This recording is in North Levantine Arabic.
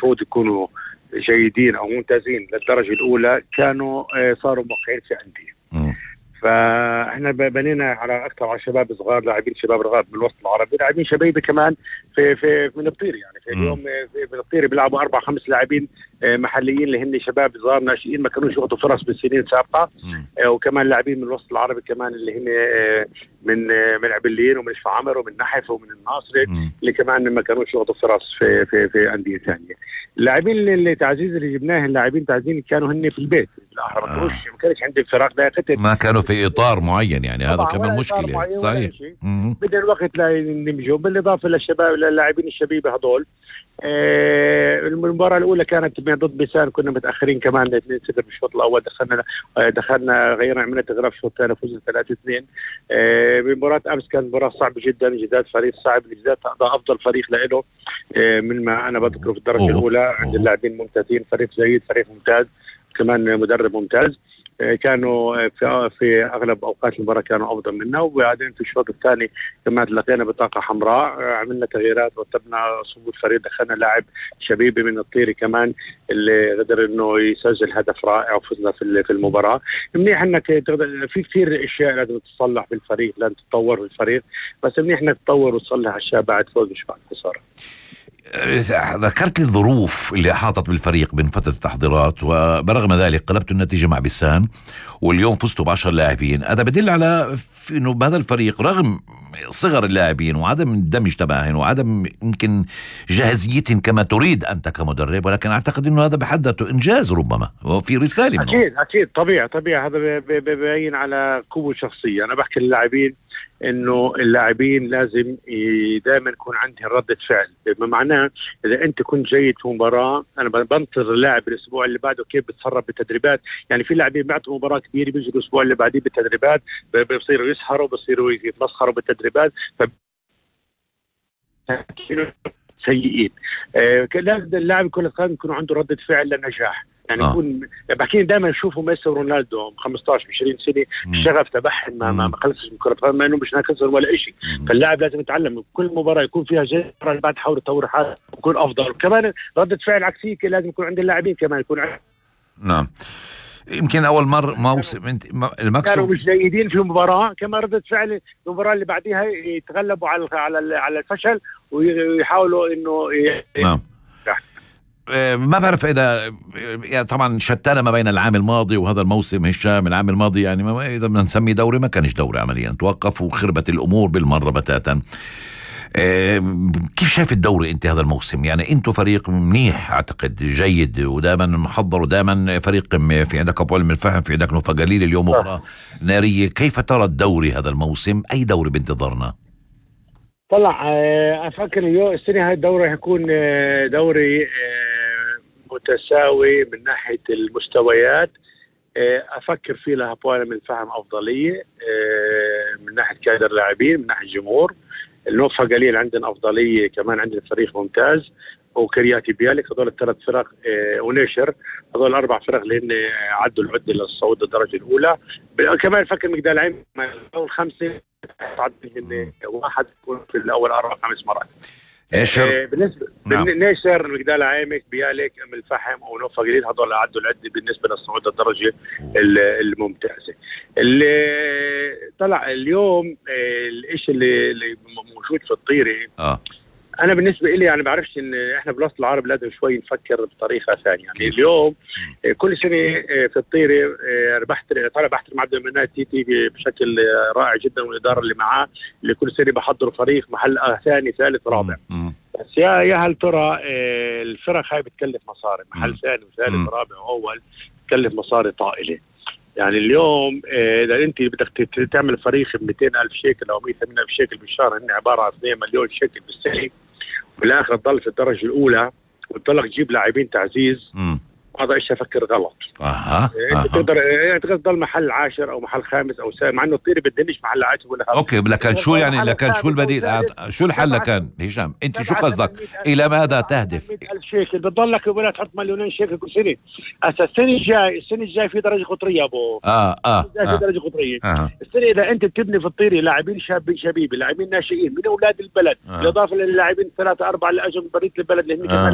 المفروض يكونوا جيدين او ممتازين للدرجة الاولى كانوا صاروا موقعين في أندية. فاحنا بنينا على اكثر على شباب صغار، لاعبين شباب رغاب من الوسط العربي، لاعبين شبيبه كمان في من الطيري. يعني في اليوم في الطيري بيلعبوا 4-5 لاعبين محليين اللي هن شباب صغار ناشئين ما كانوش ياخذوا فرص بالسنين السابقه. وكمان لاعبين من الوسط العربي كمان اللي هن من عبلين ومن شفا عمر ومن نحف ومن الناصري اللي كمان ما كانوش ياخذوا فرص في انديه ثانيه. اللاعبين اللي تعزيز اللي جبناه اللاعبين تعزيز كانوا هن في البيت، ما كانش عندي فراغ داخلي، ما كانوا في اطار معين. يعني هذا كمان مشكله. صحيح. بدنا الوقت لا نمجوا بالاضافه للشباب للاعبين الشبيبه هذول. المباراه الاولى كانت ضد بيسان، كنا متاخرين كمان 2-0 بالشوط الاول، دخلنا غيرنا عملنا تغرف الشوط الثاني فزنا 3-2. بمباراه امس كانت مباراه صعبه جدا، جداد فريق صعب، جداد افضل فريق له من ما انا بذكره في الدرجه الاولى. عند اللاعبين ممتازين، فريق جيد، فريق ممتاز، كمان مدرب ممتاز. كانوا في اغلب اوقات المباراه كانوا افضل منا. وبعدين في الشوط الثاني كمان لقينا بطاقه حمراء، عملنا تغييرات ورتبنا صفوف الفريق، دخلنا لاعب شبيبي من الطيري كمان اللي قدر انه يسجل هدف رائع وفزنا في المباراه. منيح انك في كثير اشياء لازم تصلح بالفريق، لازم تتطور في الفريق، بس منيح انك تطور وتصلح اشياء بعد فوز مش بعد خساره. ذكرت لي الظروف اللي أحاطت بالفريق من فترة التحضيرات، وبرغم ذلك قلبتوا النتيجة مع بيسان واليوم فزتوا ب10 لاعبين. هذا بدل على إنه بهذا الفريق رغم صغر اللاعبين وعدم الدمج تبعهم وعدم يمكن جاهزيتهم كما تريد أنت كمدرب، ولكن أعتقد إنه هذا بحد ذاته إنجاز ربما وفي رسالة منه. أكيد طبيعي هذا بيبين على قوة شخصية. أنا بحكي للاعبين انه اللاعبين لازم دائما يكون عندهم ردة فعل، بما معناه اذا انت كنت جيد في مباراة انا بنطر اللاعب الاسبوع اللي بعده كيف بتصرف بالتدريبات. يعني في لاعبين بعتوا مباراة كبيرة بيجوا الاسبوع اللي بعديه بالتدريبات بيصيروا يسهروا، بيصيروا يتمسخروا بالتدريبات، سيئين. لازم اللاعب كل سنة يكون عنده ردة فعل للنجاح. يعني يكون بحكي دائما يشوفوا ميسي ورونالدو 15-20 سنه الشغف تبعهم ما خلصش من كره القدم، ما انه مش ناقص ولا شيء. فاللاعب لازم يتعلم كل مباراه يكون فيها جيد، بعد حاول يطور حاله يكون افضل. كمان رده فعل عكسيه لازم يكون عند اللاعبين كمان يكون نعم. يمكن اول موسم المكسب كانوا مش جيدين في مباراه، كما رده فعل المباراه اللي بعديها يتغلبوا على الفشل ويحاولوا انه نعم. ما بعرف إذا يعني طبعا شتانة ما بين العام الماضي وهذا الموسم. هشام العام الماضي يعني إذا بدنا نسميه دوري ما كانش دوري عمليا، توقف وخربت الأمور بالمرة بتاتا. كيف شايف الدوري أنت هذا الموسم؟ يعني أنتوا فريق منيح أعتقد جيد ودائما محضر ودائما فريق في عندك أبو علم الفهم، في عندك نوفا قليل، اليوم مباراة نارية. كيف ترى الدوري هذا الموسم؟ أي دوري بانتظارنا؟ طلع أفكر اليوم السنة هاي الدوري هيكون دوري متساوي من ناحية المستويات. أفكر فيه لها بوانا من فهم أفضلية من ناحية كادر لاعبين، من ناحية جمهور. النوفا قليل عندنا أفضلية، كمان عندنا فريق ممتاز وكرياتي بيالك. هذول ال3 فرق ونيشر، هذول 4 فرق اللي هن عدوا العدة للصعود الدرجة الأولى. كمان فكر مقدار العين أول 5 تعدي واحد يكون في الأول 4-5 مرات. بالنسبة نيشر مقدال عامك بيالك ام الفحم ونوفا قليل، هذول عدوا العدة بالنسبة للصعود الدرجة الممتازة. اللي طلع اليوم الاشي اللي موجود في الطيري انا بالنسبه لي يعني بعرفش ان احنا بالوسط العربي لازم شوي نفكر بطريقه ثانيه. يعني اليوم كل سنه في الطيري بحترم عبد المنان تيتي بشكل رائع جدا، والاداره اللي معاه اللي كل سنه بحضروا فريق محل ثاني ثالث رابع. بس يا هل ترى الفرق هاي بتكلف مصاري، محل ثاني وثالث رابع واول بتكلف مصاري طائله. يعني اليوم اذا انت بدك تعمل فريق ب 200,000 شيكل او 180,000 شيكل بالشهر، هن عباره عن 2 مليون شيكل بالسنه، بالاخر تضل في الدرجه الاولى وتضلك تجيب لاعبين تعزيز. هذا إيش أفكر غلط. أنت تقدر تضل محل 10 أو محل 5 أو سابع، مع إنه الطيري بدنيش محل 10 ولا 5. أوكي، لكن شو يعني لكن شو البديل؟ شو الحل لكان هشام؟ أنت شو قصدك؟ إلى ماذا تهدف؟ 100,000 شيكل بتضلك ولا تحط 2,000,000 شيكل كل سنة. السنة الجاي في درجة قطرية أبو. في درجة قطرية. السنة إذا أنت بتبني في الطيري لاعبين شبيبي، لاعبين ناشئين من أولاد البلد، بالإضافة للاعبين 3-4 اللي أجوا من برية البلد اللي هم كمان